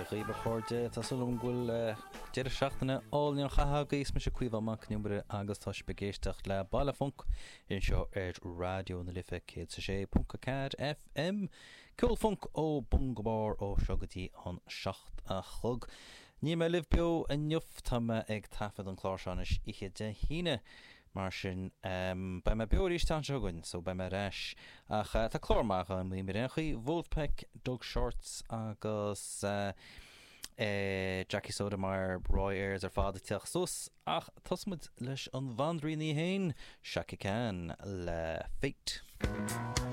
dhaoibh a chairde. Tá súil agam go bhfuil deireadh seachtaine álainn á chaitheamh agaibh. Is mise Caoimhe Mac Con Iomaire agus tá sibh ag éisteacht le Baile Func anseo ar Raidió na Life 106.4 FM. Ceol func ó bun go barr ó seo go dtí an 7 a chlog. Níl mé libh beo inniu, tá mé ag taifead an clár seo anois oíche Dé hAoine. Mar sin, beidh mé beo arís an tseachtain seo chugainn, so beidh mé ar ais. Ach tá clár maith agam ar aon chaoi, Vulfpeck, Doug Shorts agus Jackie Sotomayor, Roy Ayers ar fad ag teacht suas. Ach tosóidh muid leis an bhanríon í féin, Chaka Khan le Fate.